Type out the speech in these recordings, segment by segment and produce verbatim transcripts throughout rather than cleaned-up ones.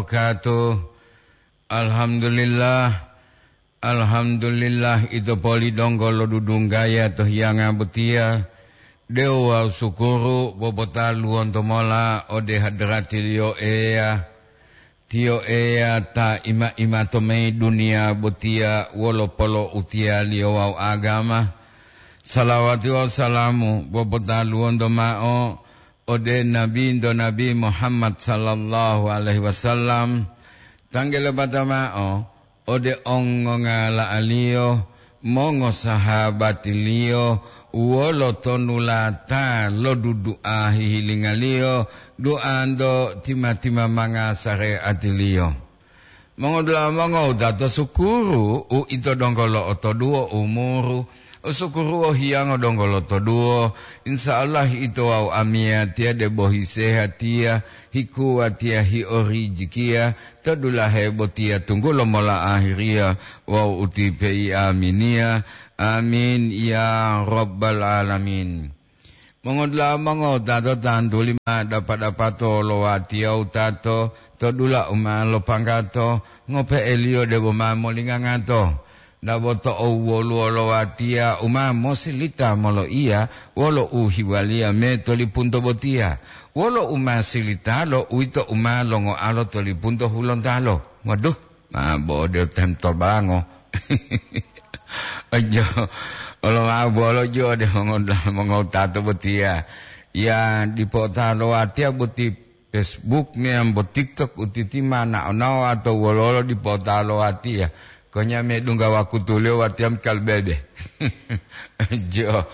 wabarakatuh. Alhamdulillah, alhamdulillah, ito poli donggo lodudunggaya to hiyanga botiya. Dewa sukuru bobotaluwonto mola ode hadratiliyo Eya. Tiyo Eya ta ima-imato mayi duniya botiya wolo polo'utiyaliyo wawu agama. Salawati wawu salamu bobotaluwonto ma'o ode Nabinto Nabi Muhammad sallallahu alaihi wasallam, tanggelebata ma'o ode ongongala'aliyo, mongosahabatiliyo, wolo tonulata lodudu'a hihilingaliyo, duanto tima-timamanga sareatiliyo. Mongodula'a mongowutato, sukuru u ito donggo lo'otoduwo umuru, u sukuru wohiyango donggo lotoduwo. Insya Allah ito wawu amiyatiya debo hisehatiya, hikuwatiya, hiorijikiya to dulahe botiya tunggulo mola ahiriya wawu utipeyi aminiya. Amin ya rabbal alamin. Mongodula'a mongowutato, tantuli ma dapa-dapato lo watiya wutato to dula u ma lopanggato, ngope'eliyo debo ma molingangato. Dabo to'u woluwo lo watiya u ma mosilita moloiya wolo u hiwaliya me to lipunto botiya. Wolo u ma silitalo, uwito u ma longoalo to lipunto hulontalo. Waduh, ma bo ode tem to balango. Ojo, olo ma bolo jo ode mongo-, mongowutato botiya. Ya, dipo ta lo watiya boti Facebook meyambo TikTok utiti ma nao-nao wato wololo dipo ta lo watiya. Konya medungga wakutuliyo watiya kalbebe. Jo,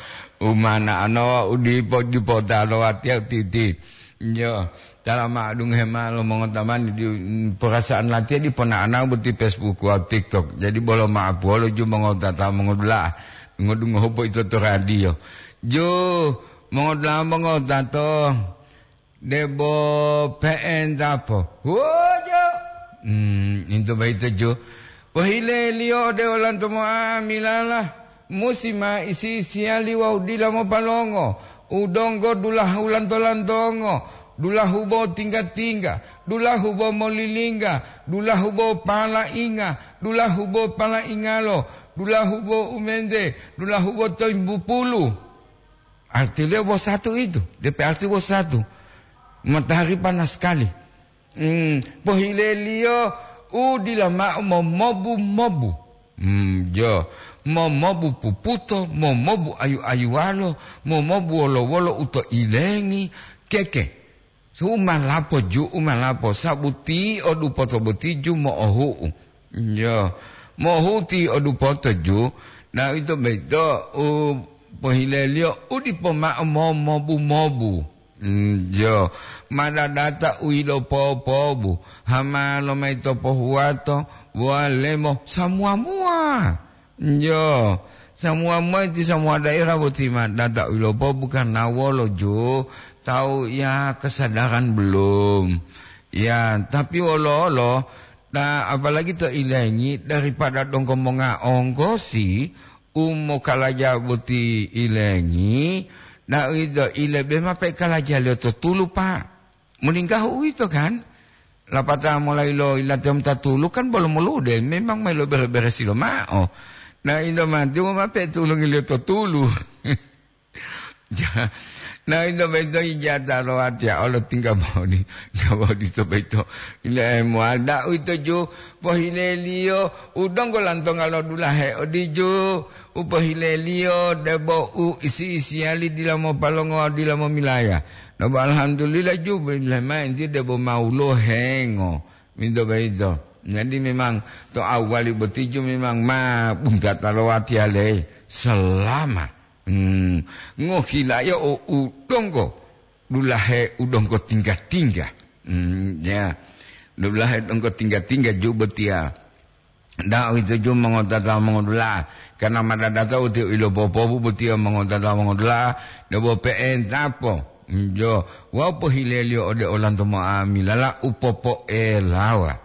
umana ano udipo dipo ta lo watiya utiti. Jo, tala ma adungohe ma lo mongotamani di, perasaan latiya dipo nao-nao boti Facebook wawu TikTok. Jadi bolo ma apuwolo ju mongotata mongodula'a. Ngodungoho po ito to radio. Jo, mongodula'a mongotato. Debo pe'entapo. Wojo! Hmm, into boyito ju. Pohileliyo ode olanto mo'amilala, musi ma isi-isiyali wawu dila mopalongo, u donggo dulahu lanto-lantongo, dulahu bo tingga-tingga, dulahu bo molilingga, dulahu bo palainga, dulahu bo palaingalo, dulahu bo umente, dulahu bo toimbupulu. Artinya bosatu itu, D P arti bosatu. Matahari panas sekali. Hmm, pohileliyo u dila ma'o momobu-mobu. Hmm, jo. Momobu puputo, momobu ayu-ayuwalo, momobu wolo-wolo u to ilengi, keke. Umalapo ju, umalapo, sabuti odupoto boti ju mo'ohu'u. Yo, mohuti odupoto ju, na uwito boyito u pohileliyo u dipo ma'o momobu-mobu. Mm, yo, madadata u yilopopobu, hamalo mayi to pohuwato, walemo samuwa-muwa. Yo, samuwa-muwa ti samuwa daerah boti ma data u yilopobu karna wolo ju tawu ya kesadaran belum. Ya, tapi wolo-wolo, ta, apalagi to ilengi daripada donggo monga onggosi u mokalaja boti ilengi, na uwito ilebe ma pe kalajaliyo to tulu, Pak. Molinggahu uwito kan? Lapatao molayi lo yilate mota tulu kan bolo molude, memang ma ilobere-beresi lomao. Na ito mati ma pe tulungiliyo to tulu. Ja-, na ito boyito ijata lo watiya olo tingga bodi, tingga bodi to boyito. Ile moala uwito ju pohileliyo u donggo lantonga lo dulahe odiju. U pohileliyo debo u isi-isiyali dila mopalongo, dila momilaya. Debo alhamdulillah ju, bilahi ma entiye debo ma woluwo hengo. Minto boyito. Jadi memang to awali boti ju memang ma buntata lo watiya leye. Selama, hmm, ngohilayo u, u donggo dulahe u donggo tingga-tingga. Hmm, ya. Dulahe donggo tingga-tingga ju botiya. Da'u ito ju mongotata mongodula'a, karna madadata uti ilopopobu botiya mongotata mongodula'a, debo pe'entapo, njo, wawu pohileliyo ode olanto mo'amilala u popo'elawa,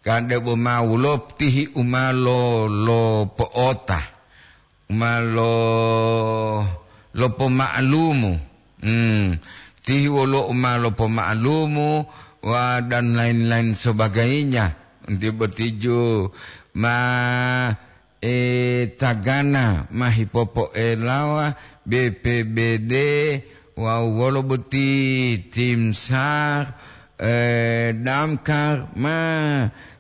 ka debo ma woluwo tihi u ma lo-, lopo'ota, u ma lo-, lopoma'alumu. Hmm. Tihi woluwo u ma lopoma'alumu, wa dan lain-lain sebagainya. Unti botiju ma, eh, tagana ma hipopoelawa B P B D wawu wolo boti tim sar, eh, damkar ma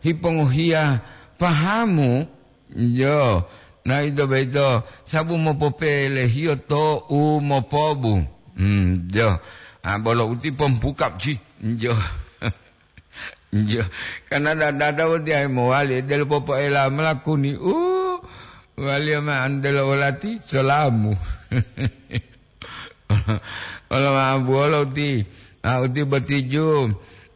hipongohiya pahamu. Njo, na ito boyito sabu mopopelehiyo to u mopobu. Hmm, njo. Ah, bolo uti pompukap ji. Njo. Njo. Karena dada-dada woti ae mowali, delo popoela melakuni. Uh, wali ma antelo olati, selamu. Wolo ma'o buwolo uti, ah, uti botiju.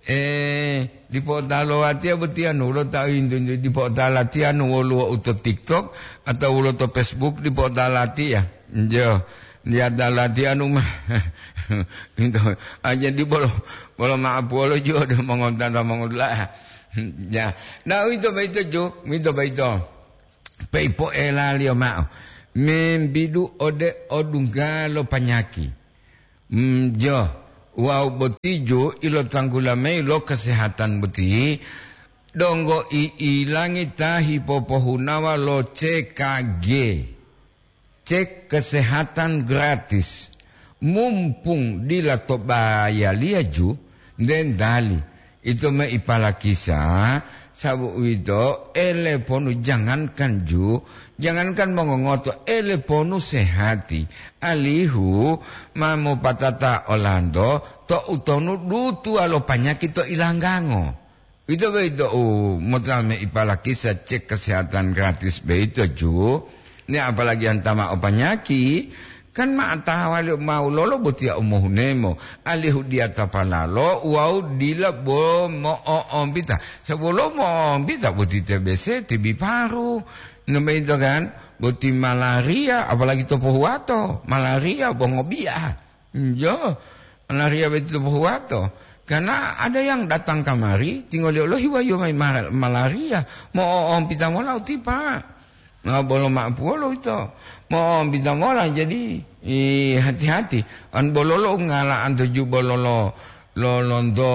Eh, dipo otalo watiya boti anu, wolo ta intu, dipo otala tiya anu woluwo u to TikTok atau wolo to Facebook, dipo otala tiya. Njo, diatala tiya anu ma. Intu, ah, jadi bolo, bolo ma'o buwolo ju ode mongotata mongodula'a. Ya, nah, uwito boyito ju, uwito boyito. Peipoelaliyo ma'o, membidu ode odungga lo panyaki. Mm, jo, wawu botiju ilotanggula mayi lo kesehatan boti, donggo i'ilangi ta hipopohunawa lo C K G. Cek kesehatan gratis. Mumpung dila to bayaliya ju, dendali. Ito me ipalakisa, sabu uwito, ele ponu jangankan ju, jangankan mongongoto, ele ponu sehati, alihu ma mopatata olanto to utonu dutuwa lo panyaki to ilanggango. Uwito boyito u mota me ipalakisa cek kesehatan gratis boyito ju, ne apalagi antama o panyaki, Kan ma atawaliyo ma wololo botiya u mohunemo, alihu diyata palalo wawu dila bo mo'o'ombita. Sabu wolo mo'o'ombita boti T B C, T B paru, nomeyito kan, boti malaria, apalagi to pohuwato, malaria bo ngobiya. Njo, malaria boyito to pohuwato. Karena ada yang datang kamari, tingoliyo lohiwaliyo mayi ma-, malaria, mo'o'ombita mola utipa. Nah, bolo ma'o puwolo ito. Mo'ombita mola, jadi, i, hati-hati. An bololo ungala antoju bololo lo lonto,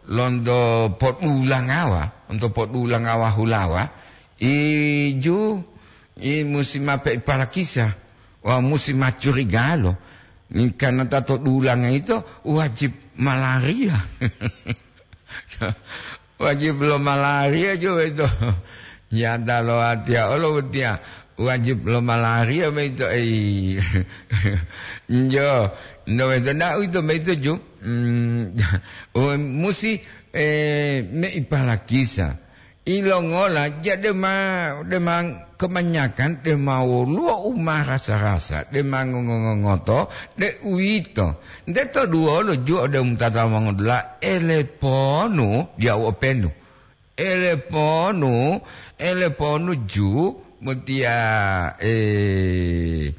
lonto podulangawa, onto podulangawa hulawa, iju, i musi mape ipalakisa, wa musi macurigalo. Karena tato dulanga ito wajib malaria. Wajib lo malaria juga itu. Nyata lo atia olo utia. Wajib lo malaria begitu. Eh. Njo, ndo begitu. Ndak itu begitu ju. Hmm, oh, musi, eh, me ipalakisa. Ilongola, ja dema, dema kebanyakan dema woluwo u marasa-rasa, dema ngongo-ngongoto, de uwito. Nte to duwolo ju ode umutata mongodula, ele ponu, diya u openu. Ele ponu, ele ponu ju, motiya, eh,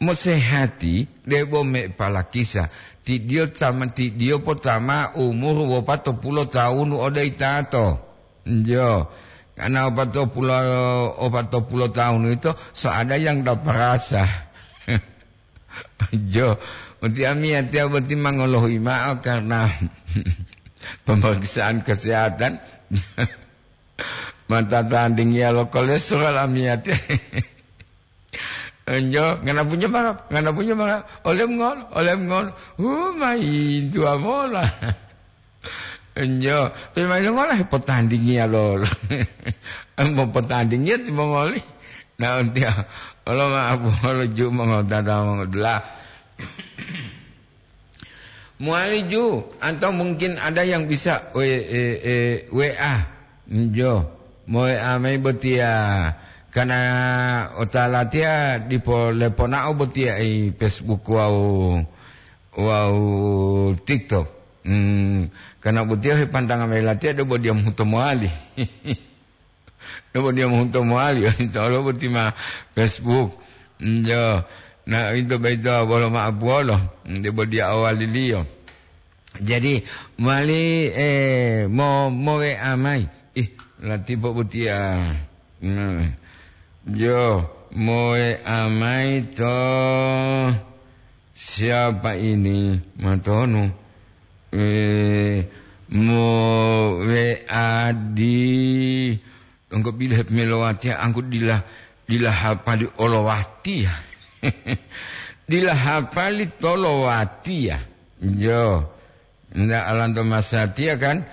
mosehati, debo me palakisa. Tidiyo tama, tidiyo potama umuru wopatopulo tawunu ode itato. Njo, karena opatopulo, opatopulo tahun itu so ada yang dapat rasa. Jo, uti amiyatiya boti mangolohuyi ma'o karena pemeriksaan kesehatan. Mata tandingiya lo kolesterol amiyatiya. Enjo, ngana punyo mangap, ngana punyo mangap. Olem ngolo, olem ngolo. Hu, mayi tuwa mola. Enjo, pe mayi ngola hepotandingiya lolo. Mopotandingiya timongoli. Nah, untiya, olo ma'apu olo ju mongotata mongodula. Mowali ju, atau mungkin ada yang bisa we-, e-, e-, W A. Njo, mo-W A mayi botiya. Karena otalatiya dipo leponao botiya i Facebook wawu, wawu TikTok. Hmm, karena botiya hepantanga mayi latiya debo diya mohuto mowali. Debo diya mohuto mowali, tolo boti ma Facebook. Njo. Na, ito boyito bolo ma'apuwolo, debo diya awaliliyo. Jadi, mowali, eh, mo-, mo-W A mayi. Ih, latipo botiya. Nah. Jo, mo-W A mayi to Siapa ini? Matonu. Eh, Mo W A di, donggo bilohe pemilowatiya, angku dila, dila hapali olowatiya. Dila hapali tolowatiya. Jo. Nda alanto masatiya kan?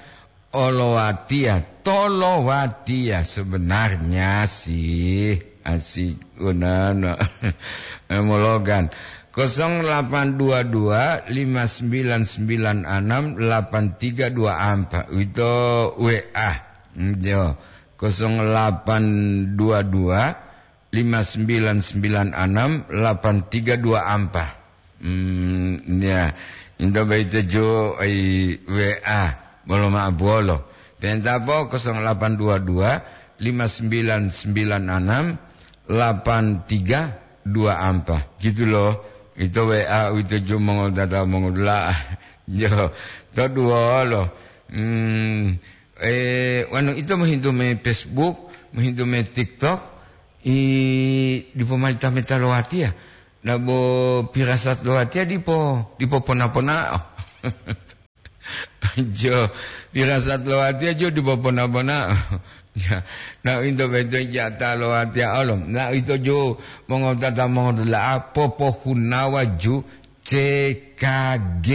Olowatiya, tolowatiya sebenarnya sih. Asik, unana. Mologan. Kosong delapan dua dua, lima sembilan sembilan enam, delapan tiga dua empat. Itu W A. Yo. Kosong delapan dua dua, lima sembilan sembilan enam, delapan tiga dua empat. Hmm, ya. Into boyito ju, ai, W A, bolo ma'o buwolo. Tentapo kosong delapan dua dua, lima sembilan sembilan enam, delapan tiga dua empat. Gitu loh. Ito W A, ito ju mongotata mongodula'a. Jo, to duwolo. Hmm, eh, wanu ito mohintu me Facebook, mohintu me TikTok, i, dipo mali tameta lo watiya. Nabo pirasat lo watiya dipo, dipo pona-ponao. Jo, pirasat lo watiya jo dipo pona-ponao. Ya, na into beto jata lo watiya olo. Na ito jo mongotata mongodula'a popohunawa ju C K G.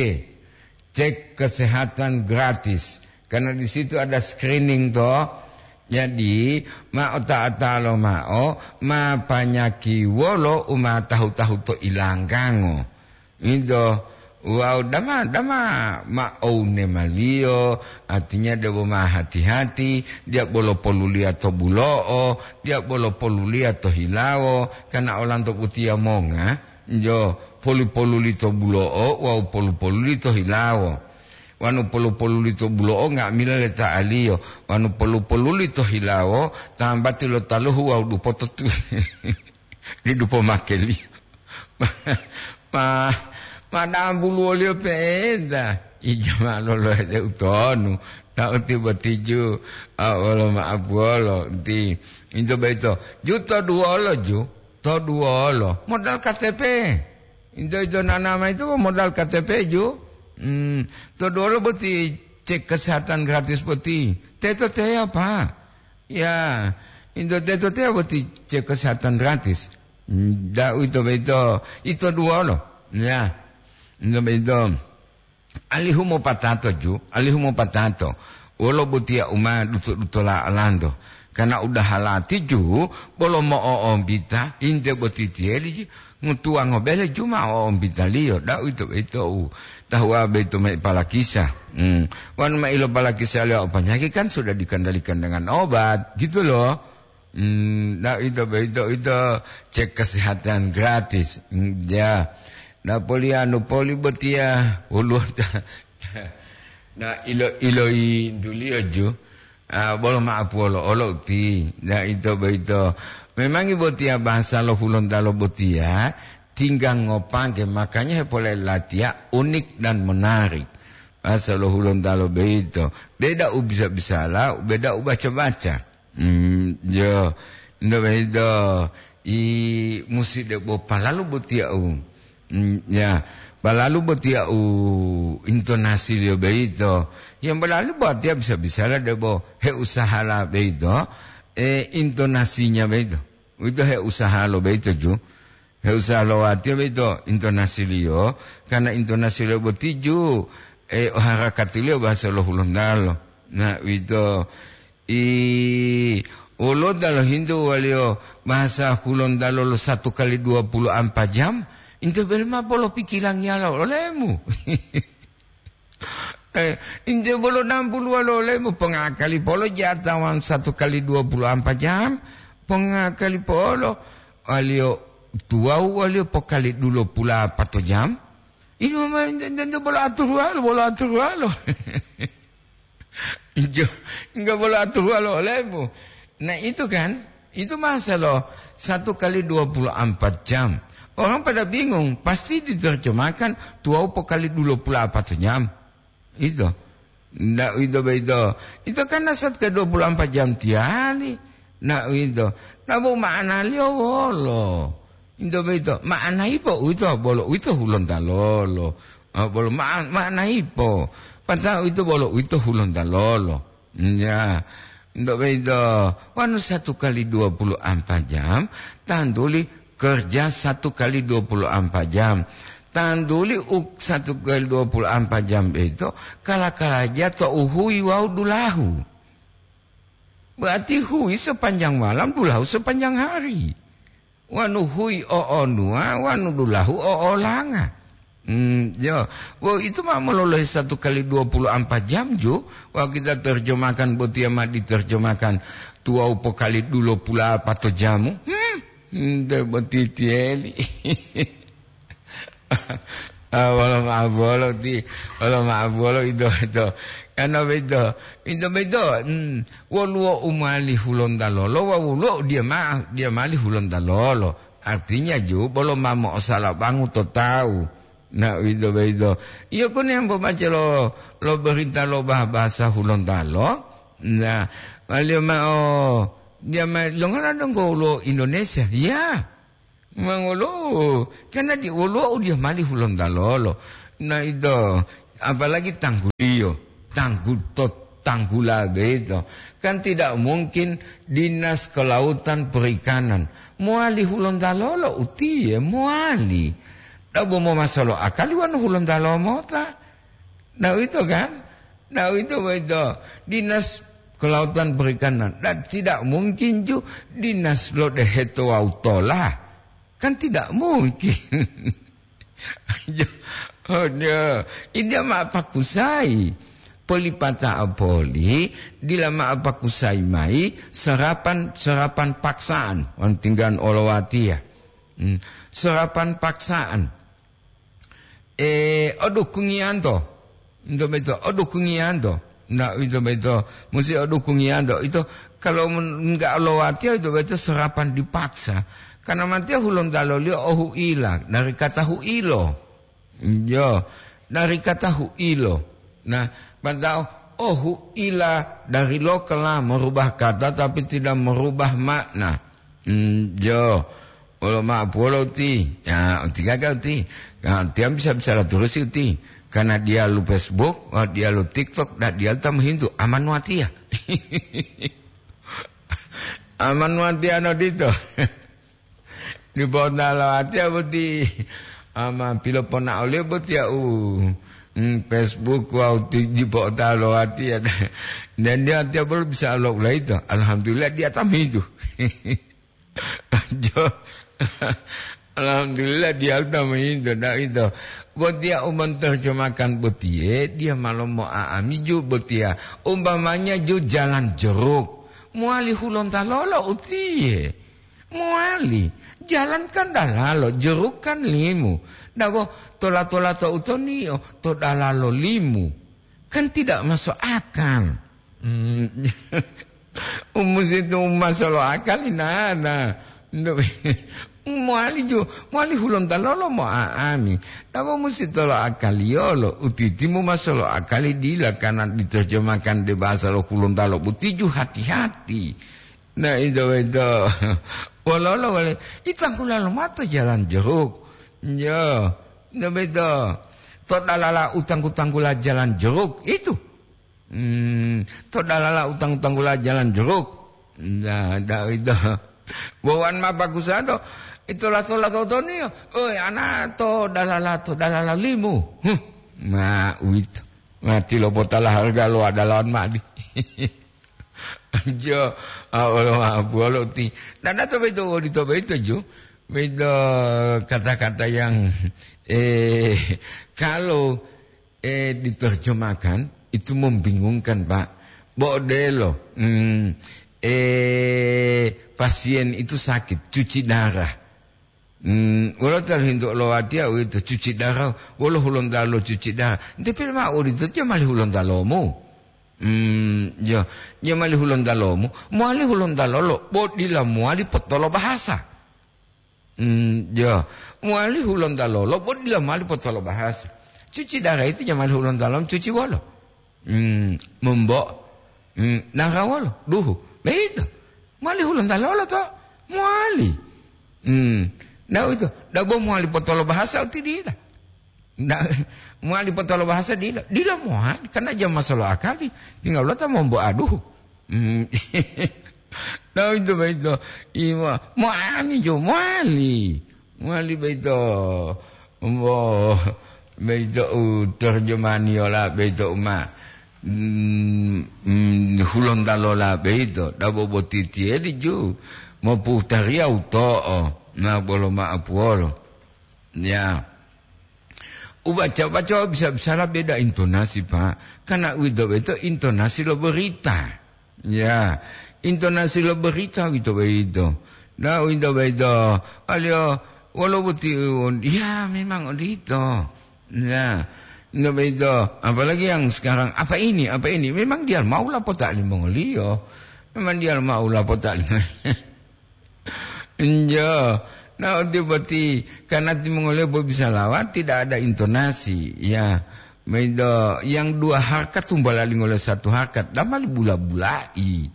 Cek kesehatan gratis. Karena di situ ada screening to. Jadi, ma ota'a-ta'a lomao, ma panyaki wolo u ma tahu-tahu to ilanggango. Ito, wawu dama-dama ma oune maliyo, artinya debo ma hati-hati, dia bolo poluliya to bulo'o, dia bolo poluliya to hilawo, karena olanto utiya monga, jo, polu-poluli to bulo'o wawu polu-poluli to hilawo. Wanu polu-poluli to bulo'o nga'amila leta'aliyo, wanu polu-poluli to hilawo tambati lo taluhu wawu dupoto tu-, didu pomakeliyo. Ma, ma dambuluwoliyo pe'enta, ija ma lolohe de utonu, ta uti botiju, a, wolo ma'apuwolo, ti, into boyito, ju to duwolo ju, to duwolo, modal K T P. Into, into nana ma itu modal K T P ju. Hmm, to duwolo boti cek kesehatan gratis boti. Teto teya, Pak. Ya, into teto teya boti cek kesehatan gratis. Hmm, da uwito boyito, ito duwolo. Ya, into boyito. Alihu mopatato ju, alihu mopatato. Wolo botiya u ma duto-dutola olanto. Karena udaha lati ju, bolo mo'o'ombita, inte boti tiyeli ji, ngutuwango bele ju ma o'ombitaliyo, da uwito boyito u tahuwa boyito ma ipalakisa. Hmm. Wanu ma ilopalakisaliyo o panyaki kan sudah dikendalikan dengan obat, gitu loh. Hmm, nah, itu, itu, itu cek kesehatan gratis. Hmm, ya. Nah, polianu poli botiya, woluwo ta-, nah, ilo, ilointuliyo ju. Ah, bolo ma'apuwolo olo uti. Nah, itu, itu. Memangi botiya bahasa lo Hulontalo botiya, tingga ngopangke, makanya hepole latiya unik dan menarik. Bahasa lo Hulontalo boyito. Beda u bisa-bisala, beda u baca-baca. Hmm, yo, ndo behido, i musi debo palalu botiya u. Hmm, ya, palalu botiya u intonasiliyo boyito. Ya, palalu botiya bisa-bisala debo heusahala boyito, eh, intonasinya boyito. Uwito heusahalo boyito ju. Heusahalo watiya boyito intonasiliyo, karena intonasiliyo boti ju, eh, oharakatiliyo bahasa lo Hulontalo. Nah, uwito I, woluwo ta lohintu waliyo bahasa Hulontalo lo satu kali dua puluh ampat jam, inte bele ma polo pikilangiyalo olemu. Eh, inte bolo enam puluh walo olemu, pongakali polo jatawan satu kali dua puluh ampat jam, pongakali polo waliyo tuwawu waliyo pokali dulo pulapato jam. Ini mama, inte, inte, inte bolo aturuwalo, bolo aturuwalo. Jo, enggak boleh atuh walo olemu. Nah, itu kan, itu masa loh, satu kali dua puluh empat jam. Orang pada bingung, pasti diterjemahkan tuwau po kali dua puluh empat jam. Itu. Ndak itu begitu. Itu kan nasat ke dua puluh empat jam tiali. Nah, itu. Nah, bu makna liyo wolo. Into boyito, ma'ana ipo uwito bolo uwito Hulontalo lo, Oh, bolo ma-, makna ipo. Pata'u ito bolo uwito Hulontalo. Ya, ndo bedo, wanu satu kali dua puluh empat jam, tantuli kerja satu kali dua puluh empat jam. Tantuli u-, satu kali dua puluh empat jam beto, kala-kalaja to uhui wawu dulahu. Berarti hui sepanjang malam, dulahu sepanjang hari. Wanu hui o onuwa, wanu dulahu o olanga. Hmm, yo. Wo, itu ma mololohe satu kali dua puluh empat jam ju. Wa kita terjemahkan botiya ma diterjemahkan tuwawu pokali dulo pula pato jamu. Hmm, nte boti tiyeli. Ah, wolo ma'o bolo ti, wolo ma'o bolo ito, ito. Karena beto, ito beto, hmm, woluwo u mali Hulontalo, wawu woluwo u diya ma-, diya mali Hulontalo. Artinya ju, bolo ma mo'osala bangu to tawu. Na, uwito boyito. Iyo, koni ambo baca lo, lo berita lo bah-, bahasa Hulontalo. Na, waliyo ma'o, diya ma-, longola donggo lo Indonesia? Ya. Mangolo, karena di woluwo u diya mali Hulontalo. Na, ito, apalagi tangguliyo. Tanggu-, to-, tanggula beto. Kan tidak mungkin Dinas Kelautan Perikanan mowali Hulontalo utiye, mowali. Dabo momasolo akali wonu Hulontalo mota. Nah, itu kan? Nah, itu, itu. Dinas Kelautan Perikanan. Dan tidak mungkin ju dinas lo deheto wawu tola. Kan tidak mungkin. Oh, dia. India ma pakusai. Polipata poli, dila ma pakusai mai, serapan, serapan paksaan. Wan tinggan olowatiya. Hmm. Serapan paksaan. Eh, odukungiyanto. Ito beto, odukungiyanto. Ndak ito beto, musi odukungiyanto. Ito, kalau men-, enggak olowatiya, ito beto serapan dipaksa. Karena matiya Hulontalo liyo ohu'ila, dari kata hu'ilo. Yo, dari kata hu'ilo. Nah, padahal ohu'ila dari lokal lah merubah kata tapi tidak merubah makna. Hmm, yo. Wolo ma'o puwolo uti. Ya, uti gaga uti. Ya, tiang bisa-bisa laturusi uti. Karena diyalu Facebook, wah, diyalu TikTok, dan diyalu ta mohintu. Aman watiya. Aman watiya nodito. Di potalo watiya boti. Ama pilopona'oliyo botiya u, mm, Facebook wawu ti-, di potalo watiya. Dan diya tiya bolo bisa lo ulaito. Alhamdulillah diya ta mohintu. Jo. Alhamdulillah, diyalu ta mohintu, ndak ito. Bo tiya u monterjemahkan botiye, diya ma lomo'a'amiju botiya. Umpamanya ju jalan jeruk. Mowali Hulontalo lo utiye. Mowali. Jalan kan dalalo, jeruk kan limu. Dabo tola-tola to utoniyo, to dalalo limu. Kan tidak masuk akal. Hmm. Umusitu umasolo akali nana. Ndu-, mowali ju, mowali Hulontalo lo mo'a'ami. Nabo musi tolo akaliyolo, utitimu masolo akali dila karena diterjemahkan de bahasa lo Hulontalo boti ju hati-hati. Nah, ito, ito. Wololo wale, itangkula lo mato jalan jeruk. Yo, ndu beto. To dalala utangku-tangkula jalan jeruk, itu. Hmm, to dalala utang-utanggula jalan jeruk. Nda, nda ito. Bowan ma bagusanto. Itola-tola totoniyo. Oi, ana to dalala, to dalala limu. Huh. Ma uwito. Mati lo potala harga lo adalawan madi. Jo, awolo ma buwolo ti. Nda to beto wodi to beto ju. Beto kata-kata yang, eh, kalau eh, diterjemahkan, itu membingungkan, Pak. Bo odelo, hmm, eh, pasien itu sakit, cuci darah. Hmm, wolo ta hintu lo watiya uwito, cuci darah, wolo Hulontalo cuci darah. Nte pil ma odito, jamali Hulontalomu. Hmm, jo, jamali Hulontalomu, mowali Hulontalo lo, bo dila mowali potolo bahasa. Hmm, jo. Mowali Hulontalo lo, bo dila mowali potolo bahasa. Cuci darah itu jamali Hulontalo cuci wolo? Hmm, mombo. Hmm, darah wolo? Duhu. Begitu. Mowali Hulontalo lo to? Mowali. Hmm. Nah, itu. Dabo mowali potolo bahasa uti dila. Nda, mowali potolo bahasa dila, dila mowali, karena jam masolo akali, tinggal lota mombo aduhu. Hmm. Nah, itu begitu. Ima, mowali jo, mowali. Mowali begitu. Bo, begitu u terjemahaniyola begitu uma. Hmm, hmm, Hulontalola begitu. Dabo botitiye diju. Moputariya uto'o. Nah, bolo ma'apuwolo. Ya. Ubaca-baca bisa-bisala beda intonasi, Pak. Karena uwito boyito intonasi lo berita. Ya, intonasi lo berita uwito boyito. Nah, uwito boyito, aliyo wolo boti, ya, memang odito. Ya, uwito boyito, apalagi yang sekarang, "Apa ini? Apa ini?" Memang dia mau lapota limongoliyo. Memang dia mau lapota limongoliyo. Enjo. Nah, uti boti, karena timongoliyo bo bisa lawa, tidak ada intonasi, ya. Maido, yang dua harkat tumbala lingolo satu harkat, dama li bula-bulai.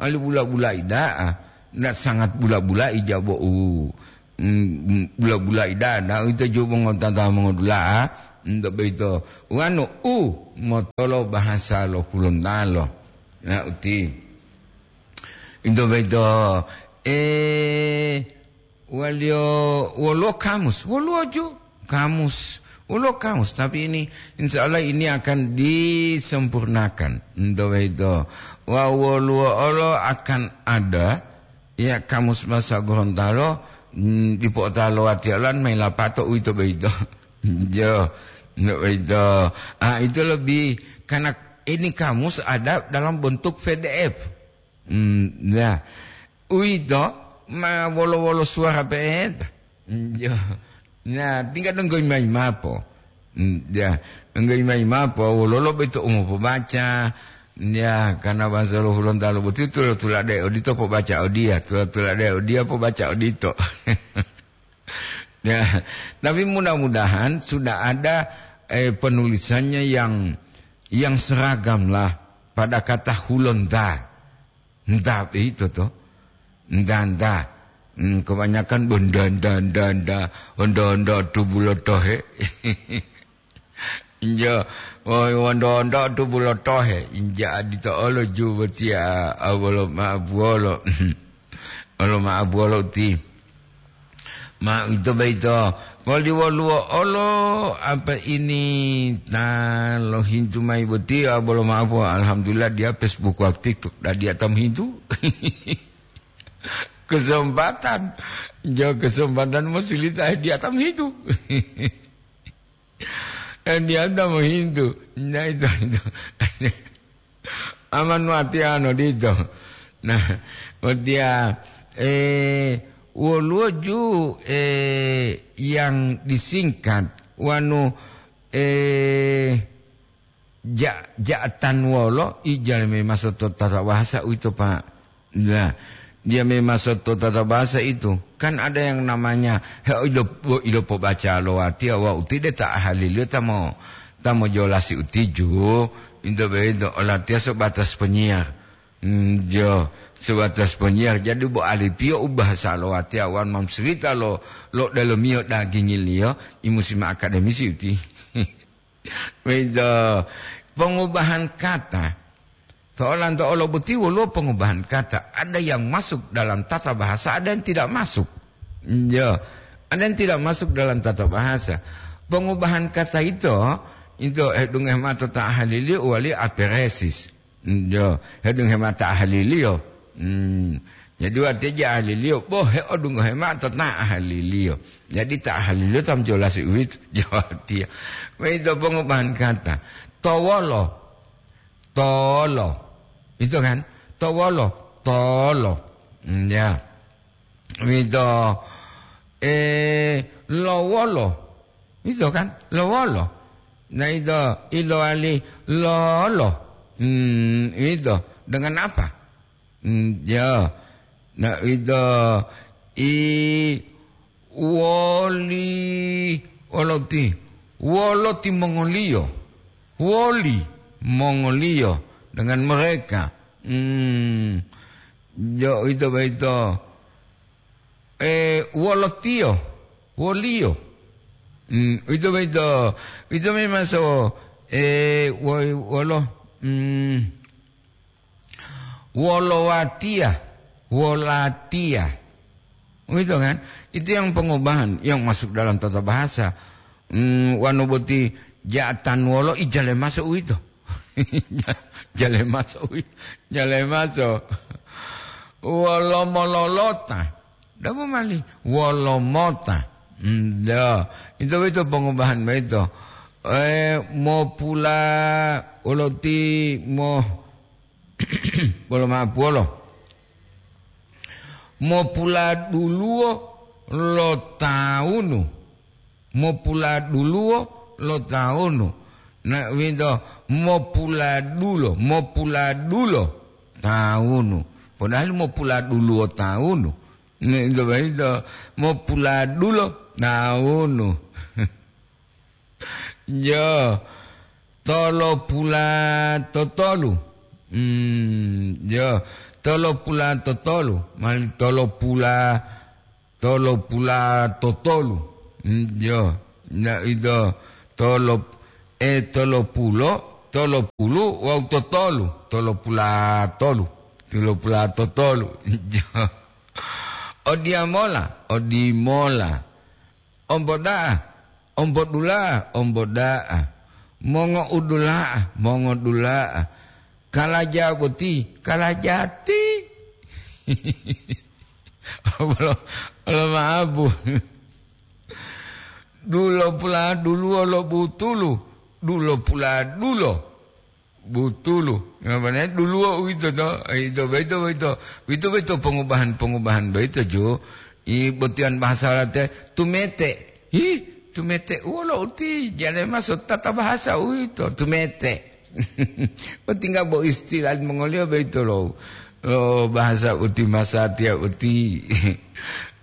Ah, li bula-bulai da'a. Ndak sangat bula-bulai jabo u. Mm, mm, bula-bulai da'a, nah, ito jubo ngotata mongodula'a. Ndak beito. Wanu u motolo bahasa lo Hulontalo. Nah, uti. Ito boyito, eh, waliyo woluwo kamus, woluwo ju kamus, woluwo kamus, tapi ini insya Allah ini akan disempurnakan. Ito boyito, wa woluwo olo akan ada, ya, kamus bahasa Gorontalo, mm, dipo'otalo watiya lan mayi lapato uwito boyito. Jo, ito boyito. Ah, itu lebih, karena ini kamus ada dalam bentuk P D F. Hmm, ya. Uwito ma wolo-wolo suwara pe'enta. Hmm, ya. Nah, tinggal donggo mayi-mapo. Hmm, ya. Donggo mayi-mapo, wololo boyito u mopobaca. Ya, karena bansa lo Hulontalo boti tula-tulade odito pobaca odiya, tula-tulade odiya pobaca odito. Ya, tapi mudah-mudahan sudah ada, eh, penulisannya yang, yang seragam lah pada kata Hulonta. Nta itu to. Nta, nta. Hmm, kebanyakan benda, nda, nda, nda. Onda, onda, tubulo tohe. Injo, woi, onda, onda, tubulo tohe. Inja adito olo ju botiya, awolo ma'abuwolo. Olo ma'abuwolo uti. Ma ito boyito, woli woluwo olo apa ini ta lohintu mayi boti, ah, bolo maaf, alhamdulillah dia Facebook wa TikTok, dan dia tam hintu. Kesempatan. Jo kesempatan mo silita dia tam hintu. Eh, dia tam hintu. Nah, itu, itu. Aman watiya no dito. Nah, watiya, eh, woluwo ju, eh, yang disingkat wanu, eh, ja-, ja'atan wolo ijal memaso to tata bahasa uwito, Pak. Nah, dia memaso to tata bahasa itu. Kan ada yang namanya, he, ilo, ilo pobaca lo watiya wa utide ta ahaliliyo ta mo, ta mojolasi utiju, into beito olatiya sebatas penyiar. Hmm, jo, sebatas penyiar. Jadi, bo alitiyo u bahasa lo watiya wan mamsurita lo, lo delomiyo dagingiliyo, i musim akademisi uti. Begitu. Pengubahan kata. Soalan to olo boti woluwo pengubahan kata. Ada yang masuk dalam tata bahasa, ada yang tidak masuk. Ya, ada yang tidak masuk dalam tata bahasa. Pengubahan kata itu, itu, eh, dungeh mata ta ahaliliyo wali aperesis. Yo, hedung hemata ahaliliyo. Hmm. Jadi, watiya ja ahaliliyo, bo heodungohe mao to ta ahaliliyo. Jadi, ta ahaliliyo tam jolasi uwito, jawatiya. Weito pongobahan kata. Towolo. Tolo. Itu kan? Towolo. Tolo. Hmm, ya. Wito, eh, lowolo. Wito kan? Lowolo. Nah, ito, ilowali lolo. Hmm, wito. Dengan apa? Hmm, ya. Nah, wito, i, woli, woloti. Woloti mongoliyo. Woli mongoliyo. Dengan mereka. Hmm, yo, ito, baito. Eh, wolotiyo, woliyo. Hmm, uwito boyito, uwito mayi maso, eh, wo-, wolo, hmm, wolowatiya, wolatiya. Uwito kan? Itu yang pengubahan yang masuk dalam tata bahasa. Hmm, wanu boti ja'atan wolo ijale maso uwito. Jale maso uwito. Jale maso. Wolomololota. Dabo mali, wolomota. Hmm, ya. Itu, itu pengubahan begitu. Eh, mopula, oloti, mo-, bolo maaf, wolo. Mopula duluwo lo taunu. Mopula duluwo lo taunu. Na, winto, mopula dulo, mopula dulo taunu. Padahal mopula duluwo taunu. Ni, ito boyito, mopuladulo taunu. Yo, tolopula totolu. Hmm, yo, tolopula totolu. Mali tolopula, tolopula totolu. Hmm, yo, na ito tolop-, eh, tolopulo, tolopulu wawu totolu. Tolopula tolu. Tolopula totolu. Yo. Odiyamola, odimola. Omboda'a, ombodula'a, omboda'a. Mongoudula'a, mongodula'a. Kalaja boti, kalajati. Olo, olo maabu. Dulo pula duluwo lo butulu, dulo pula dulo. Butulu. Ngapane duluwo uwito to? Ito boyito, boyito. Uwito boyito pongubahan-pongubahan boyito, ju. I botiyan bahasa late, tumete. Hi, tumete wolo uti, jale maso tata bahasa uwito, tumete. Bo tingga bo istilah mongoliyo boyito lo, lo bahasa uti masatiya uti.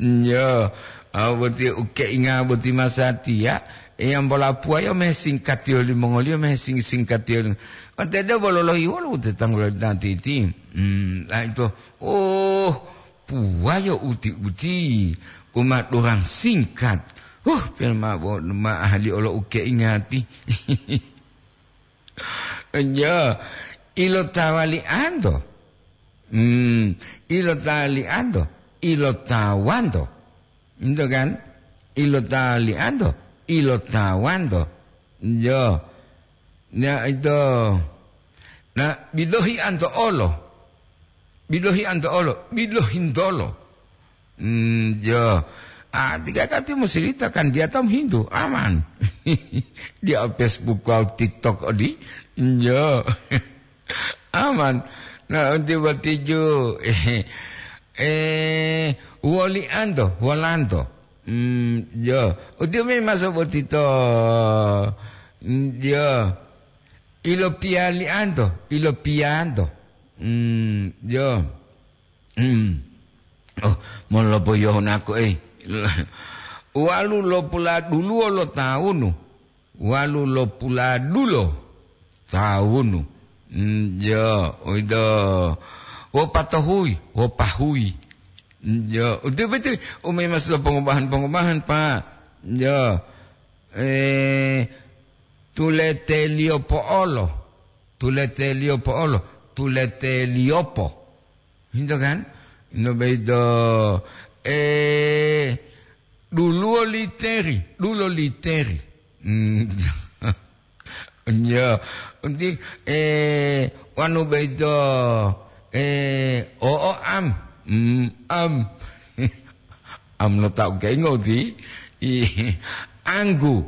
Yo, ah, boti ukeinga boti masatiya. Eyambola puwayo me singkatiyo limongoliyo, me sing-, singkatiyo lim-, Ontede bolo lohiwolo u tetanggulo tantiti. Hmm, laito, oh, puwayo uti-uti, uma dorang singkat. Huh, pelma bo-, ma ahali olo ukeingati. Ya, ilotawalianto. Hmm, ilotalianto, ilotawanto. Ento kan? Ilotalianto, ilotawanto. Yo. Ya, ito. Nah, bilohi anto olo. Bilohi anto olo, bilohintolo. Hmm, yo. Ah, tiga kati musilita kan dia tam Hindu, aman. Dia Facebook atau TikTok odi. Yo. Aman. Nah, unti batiju. Eh, woli anto, wolanto. Hmm, yo. Uti umi maso botito. Hmm, yo. Ilopiyalianto, ilopiyanto. Hmm, yo. Hmm. Oh, molopo yohonako, eh. Walu lopuladuwo lo tawunu. Walu lopuladulo tawunu. Hmm, yo, uwito. Wopatohuyi, wopahuyi. Hmm, yo, uti-, uti-, umi maso pongubahan-pongubahan, Pak. Yo. Eh, tuleteliyo po'olo. Tuleteliyo po'olo. Tuleteliyopo. Hinto kan? Hinto boyito, eh, duluwo literi, dulo literi. Hmm. Ya, unti, eh, wanu boyito, eh, o'o am. Hmm, am. Am lo tau keingo ti. Ih, anggu.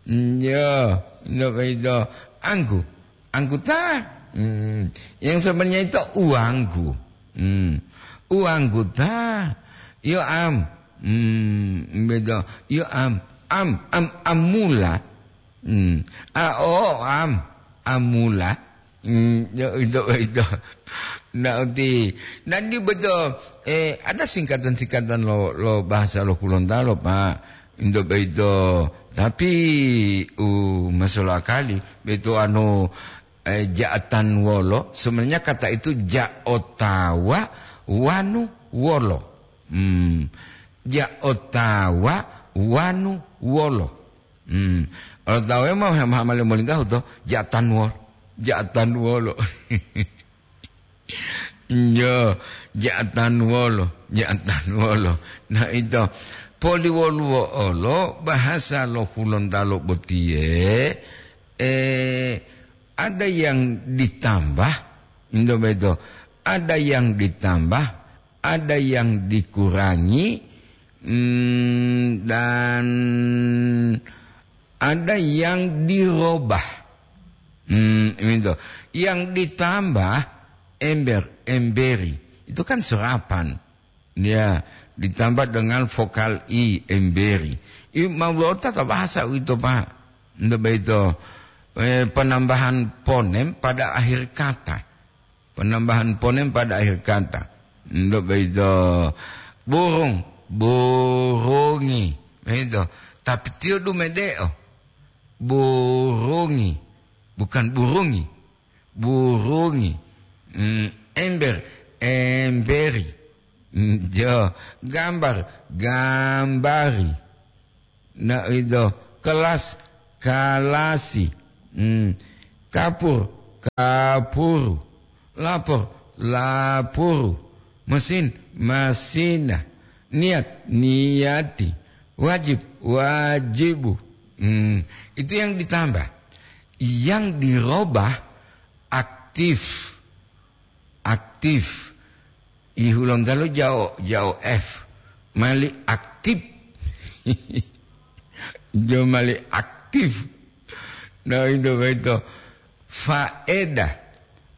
Hmm, ya, hinto boyito, anggu. Anggota. Hmm. Yang sebenarnya itu uangku. Hmm. Uangku ta. Yo am. Hmm, beda. Yo am. Am, am, amula. Hmm. A, o, am. Amula. Hmm, yo, itu, itu. Nah, uti. Nanti betul. Eh, ada singkatan-singkatan lo, lo bahasa lo Gorontalo, Pak. Indo boyito, tapi u masolo akali, boyito anu, eh, ja'atan wolo, sebenarnya kata itu ja otawa wanu wolo. Hmm, ja otawa wanu wolo. Hmm. Olo tawu ma hama-, hamale molinggahu to, ja'atan wolo. Ja'atan wolo. Yo, ja'atan wolo, ja'atan wolo. Nah, ito, poliwoluwo olo bahasa lo Hulontalo botiye, eh, ada yang ditambah, ito beto, ada yang ditambah, ada yang dikurangi, mm, dan ada yang dirobah. Hmm, itu. Yang ditambah ember, emberi. Itu kan serapan. Ya, ditambah dengan vokal i, emberi. I, mau lo tata bahasa itu, Pak. Ndak begitu. Eh, penambahan ponem pada akhir kata. Penambahan ponem pada akhir kata. Ndak begitu. Burung, burungi. Begitu. Tapi tiyo dumedeo. Burungi. Bukan burungi. Burungi. Hmm, ember, emberi. Hmm, jo, gambar, gambari. Nah, itu. Kelas, kalasi. Hmm. Kapur, kapuru. Lapor, lapuru. Mesin, masina. Niat, niati. Wajib, wajibu. Hmm. Itu yang ditambah. Yang dirobah aktif. Aktif. I Hulontalo jao, jao F. Mali aktif. Jo mali aktif. Nah, itu, itu. Faedah.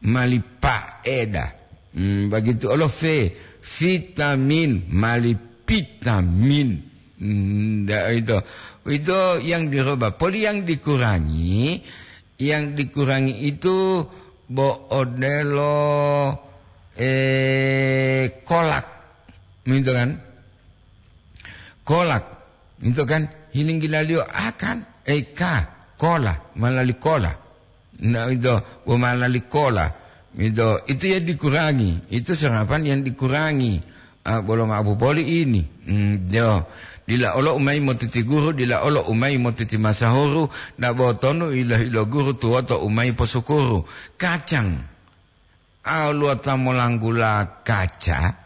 Mali paedah. Hmm, begitu. Olo V. Vitamin. Mali vitamin. Hmm, nah, itu. Itu yang dirubah. Poli yang dikurangi, yang dikurangi itu bo odelo, eh, kolak. Gitu kan? Kolak. Gitu kan? Hilinggilaliyo akan, eh, ka, kola, malali kola. Nah, itu, bo malali kola. Itu, itu ya dikurangi. Itu serapan yang dikurangi. Ah, bolo ma'o popoli ini. Hmm, jo. Dila olo umai motiti guru, dila olo umai motiti masahuru, na botonu ilo-ilo guru tuwoto umai posukuru. Kacang. Aluwata molanggula kaca,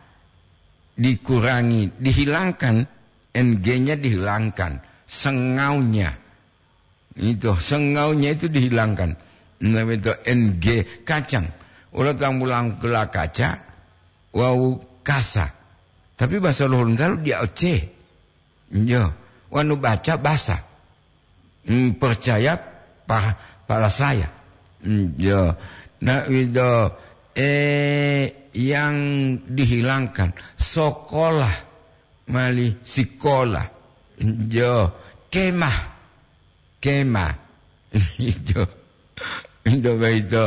dikurangi, dihilangkan, N G-nya dihilangkan, sengaunya. Itu, sengaunya itu dihilangkan. Namanya itu N G, kacang. Ulo tang molanggula kaca, wau kasa. Tapi bahasa Lohuntalo dia oce. Yo, wanu baca basa. Hmm, percaya pa-, pala saya. Hmm, yo. Nah, itu, eh, yang dihilangkan. Sekolah, mali sekolah. Yo, kemah. Kemah. Itu. Itu begitu.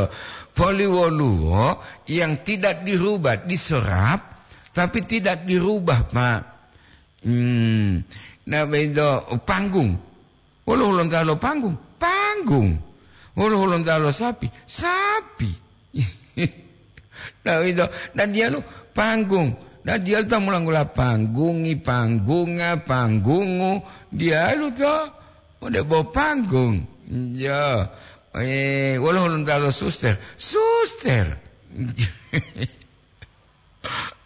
Poliwoluwo yang tidak dirubah, diserap, tapi tidak dirubah, Pak. Hmm. Nah, begitu. Panggung. Wolo Hulontalo panggung? Panggung. Wolo Hulontalo sapi? Sapi. Nah, itu. Dan diyalu panggung. Dan diyalu ta mulanggula panggungi, panggunga, panggungu. Diyalu to. Ode bo panggung. Ya. Eh, wolo Hulontalo suster? Suster.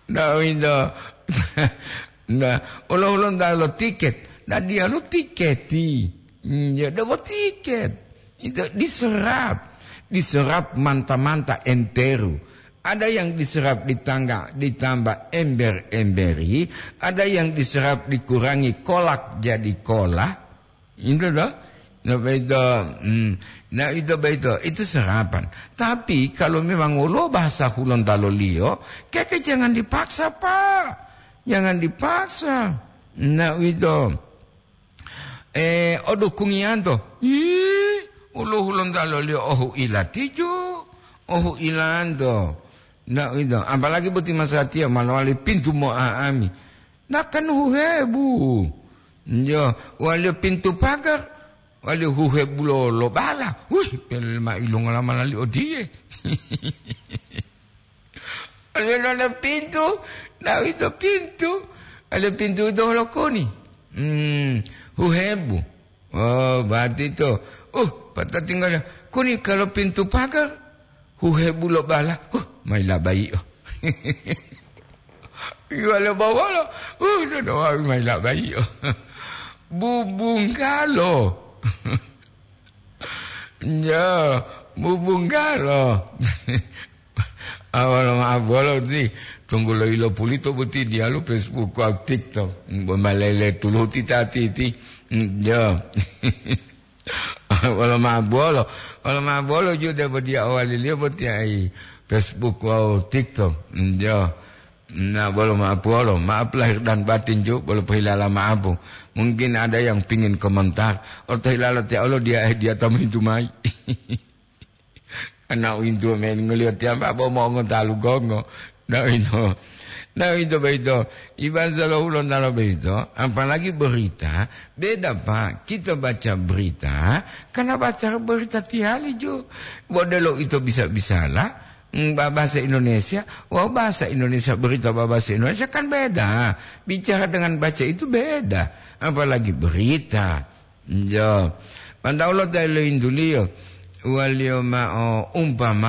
Nah, itu. Nah, wolo Hulontalo tiket? Nah, diyalu tiketi. Hmm, ya, debo tiket. Itu diserap. Diserap manta-manta enteru. Ada yang diserap ditangga-, ditambah ember-emberi, ada yang diserap dikurangi kolak jadi kola. Itu toh. Nah, begitu. Hmm. Nah, itu begitu. Itu serapan. Tapi kalau memang wolo bahasa Hulontalo liyo, keke jangan dipaksa, Pak. Jangan dipaksa. Nah, itu. Eh, odukungiyanto. Ih, wolo Hulontalo liyo ohu ilatijo. Ohu ilanto. Nah, itu. Apalagi boti masatiya ma lowali pintu mo'a'ami. Nakanu huhebu. Njo, waliyo pintu pagar, waliyo huhebu lo, lo bala. Wih, pelma ilongola malali odiye. Waliyo nona pintu, na wito pintu. Waliyo pintu ito holokoni. Hmm, huhebu. Oh, bati to. Uh, pata tinggal. Kuni kalau pintu pagar, huhebulo bala, huh, mai labaiyo. Iwalo bawolo, uh, dodowawi mai labaiyo. Bubungkalo. Ya, bubungkalo. Awalo ma'abolo ti, tunggulo ilo pulito boti diyalu Facebook wawu TikTok. Bo malele tuluti tatiti. Mm, ya. Wolo ma'abolo, wolo ma'abolo ju debo dia owaliliyo boti ai Facebook wawu TikTok. Mm, ya. Nah, bolo ma'abolo, maaf lahir dan batin ju, bolo pohilala ma'apu. Mungkin ada yang pingin komentar. Oto hilala te Allah dia, eh, dia tamu hintu mai. Ana uwinto men ngoliyo tiyamba bo mongo talu gongo. Na uwito. Na uwito boyito, ibansa lo Hulontalo boyito, apalagi berita, beda, Pak. Kita baca berita, karena baca berita tihali ju. Bo delo ito bisa-bisala, mm, ba-, bahasa Indonesia, wawu bahasa Indonesia, berita ba-, bahasa Indonesia kan beda. Bicara dengan baca itu beda. Apalagi berita. Yo. Mantaulo ta iloyintuliyo, waliyo ma'o umpama